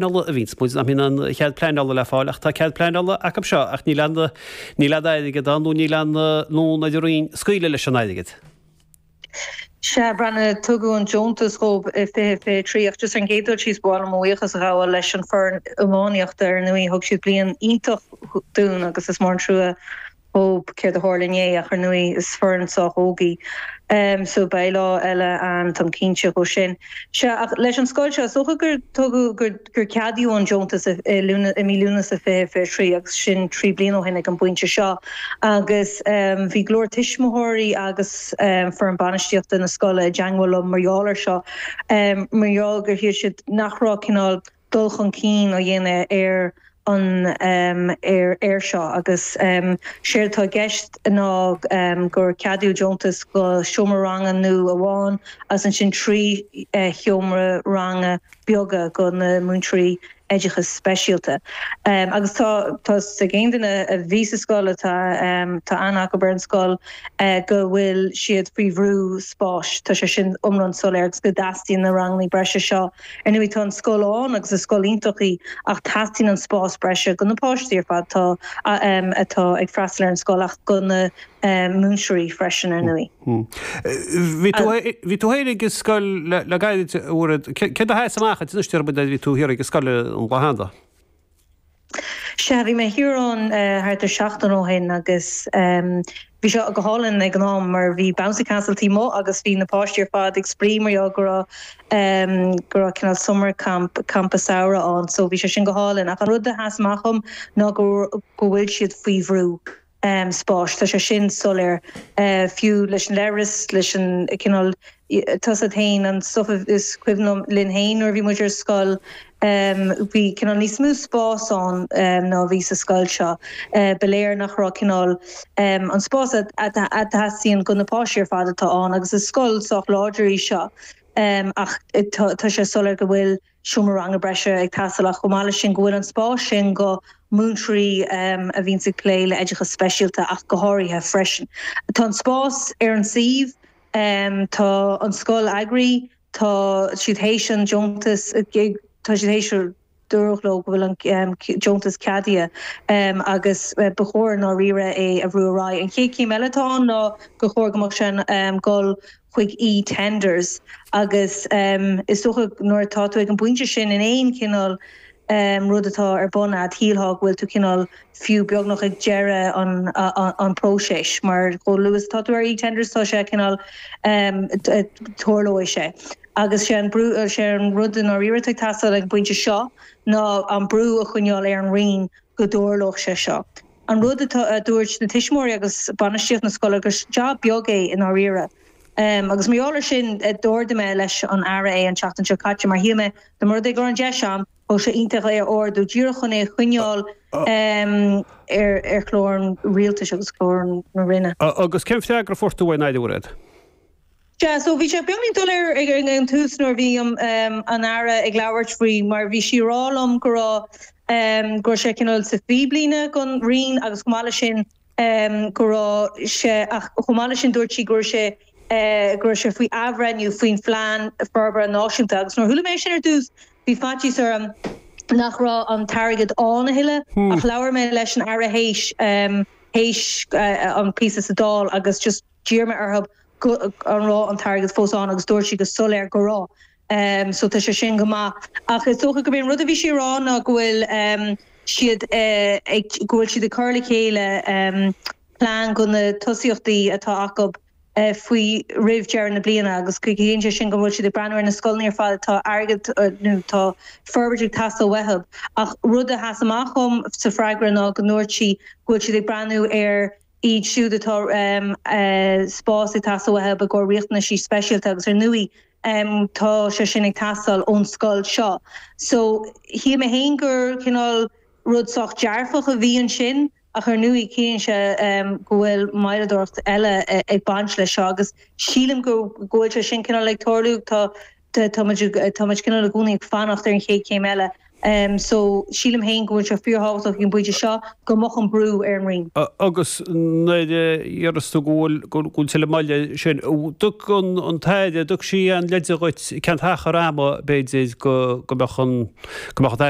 A bhíonns muid nach mbíonn an cead pleanála le fáil ach tá cead pleanála acu seo ach níl aon níl aon airgead ann nó níl aon fhonn ar an Roinn scaoileadh leis an airgead. Sea, Breandán, tugadh an deontas dhóibh i 2023 ach just ar an gcéad dul síos ba mhaith liom mo bhuíochas a ghabháil leis an foireann iománaíochta ar ndóigh thug siad bliain iontach dúinn agus is mór an trua dhóibh céard a tharla inné ach ar ndóigh is foireann sách óg í so beidh lá eile ann táim cinnte dhó sin. Sea, ach leis an scoil seo is dócha gur tugadh, gur gur ceadaíodh an deontas i i mí Lúnasa 2023 agus sin 3 bliana ó shin ag an bpointe seo agus bhí go leor tuismitheoirí agus foireann bainistíochta na scoile i dteangmháil liom mar gheall ar seo mar gheall gur shíl siad nach raibh cineál dul chun cinn á dhéanamh ar an ar air seo agus séard atá i gceist ná gur ceadaíodh deontas go seomra ranga nua amháin agus ansin 3 sheomra ranga beaga go na múinteoirí oideachais speisialta. Agus tá tá 's ag aon duine a bhí sa scoil atá tá aithne acu ar an scoil go bhfuil siad faoi bhrú spáis. Tá sé sin iomlán soiléir agus go dteastaíonn na ranganna breise seo. Ar ndóigh tá an scoil ann agus is scoil iontach í ach teastaíonn an spás breise go na páistí ar fad atá atá ag freastal ar an scoil ach go na múinteoirí freisin ar ndóigh. Bhí tú bhí tú thiar ag an scoil le le gairid a Mhairéad. Céard a sheas amach duit anois nuair a bhí tú thiar ag an scoil an lá cheana? Sea, bhí mé thiar ann thart ar seachtain ó shin agus bhí sé go hálainn ag an am mar bhí bouncy castle taobh amuigh agus bhí na páistí ar fad ag spraoi mar gheall go raibh go raibh cineál summer camp, campa samhraidh ann so bhí sé sin go hálainn ach an rud a sheas amach dhom ná go go bhfuil siad faoi bhrú spáis. Tá sé sin soiléir fiú leis an leithreas, leis an cineál tá's agat féin, an stuff is cuimhin liom linn féin nuair a bhí muid ar scoil, bhí cineál níos mó spás ann ná a bhí sa scoil seo. Ba léir nach raibh cineál an spás a theastaíonn go na páistí ar fad atá ann agus is scoil sách láidir í seo ach tá sé soiléir go bhfuil seomra ranga breise ag teastáil ach chomh maith leis sin go bhfuil an spás sin go múinteoirí a bhíonns ag plé le oideachas speisialta ach go háirithe freisin. Tá an spás ar an suíomh, tá an scoil eagraithe, tá siad théis an deontas, tá siad théis, dúradh leo go bhfuil an deontas ceadaithe agus ba chóir i ndáiríre é a bhrú ar aghaidh. An chéad chéim eile atá ann ná gur chóir go mbeadh sé ag dul chuig eTenders agus is dócha nuair atá tú ag an bpointe sin in aon chineál rud atá ar bun a'd, shílfeá go bhfuil tú cineál fiú beagnach ag deireadh an an próiseas mar chomh luath is atá tú ar eTenders tá sé cineál tarlóidh sé. Agus sé an brú, sé an rud i ndáiríre atá ag teastáil ag an bpointe seo ná an brú a choinneáil ar an Roinn go dtarlódh sé seo. An rud atá, a dúirt na tuismitheoirí agus bainistíocht na scoile gur jab beag é i ndáiríre. Agus mar gheall ar sin d'ardaigh mé leis an Aire é an tseachtain seo caite mar shíl mé dá mba rud é go raibh an deis a'm, bheadh sé iontach é a ardú díreach chun é a choinneáil ar ar chlár an rialtais agus clár na Roinne. Agus cén freagra a fuair tú ón Aire, a Mhairéad? Sea, so bhí sé beagnín doiléir ag an tús nuair a bhí an Aire ag labhairt faoi mar bhí sí ag rá liom go raibh, go raibh sé cineál sa phíblíne don Roinn agus chomh maith leis sin go raibh sé, ach chomh maith leis sin dúirt sí go raibh sé, go raibh sé faoi athbhreithniú faoin Phlean Forbartha Náisiúnta agus nuair a chuala mé sin ar dtús bhí faitíos orm nach raibh an t-airgead ann a thuilleadh ach labhair mé leis an Aire théis, théis an píosa sa Dáil agus just D'iarr mé orthu go an raibh an t-airgead fós ann agus dúirt sí go soiléir go raibh. So tá sé sin go maith. Ach is dócha gurb é an rud a bhí sí a rá ná go bhfuil siad ag, go bhfuil siad ag cur le chéile plean go na tosaíochtaí atá acu faoi roimh deireadh na bliana agus ciallaíonn sé sin go bhfuil siad ag breathnú ar na scoileanna ar fad atá airgead nó tá forbairt ag teastáil uathu. Ach rud a sheas amach dhom sa freagra ná go ndúirt sí go bhfuil siad ag breathnú ar iad siúd atá spás ag teastáil uathu i gcomhair riachtanaisí speisialta agus ar ndóigh tá sé sin ag teastáil ón scoil seo. So shíl mé féin gur cineál rud sách dearfach a bhí ansin ach ar ndóigh ciallaíonn sé go bhfuil moilleadóireacht eile ag baint leis seo agus sílim go bhfuil sé sin cineál ag tarlú. Tá tá muid tá muid cineál i gcónaí ag fanacht ar an chéad chéim eile. So, sílim féin go bhfuil sé fíorthábhachtach ag an bpointe seo go mbeadh an brú ar an Roinn. Agus nuair a déarfas tú go bhfuil go bhfuil tuilleadh moille sin, dtug an an tAire, dtug sí aon leide dhuit cén t-achar ama b'fhéidir go go mbeadh an go mbeadh an t-athbhreithniú.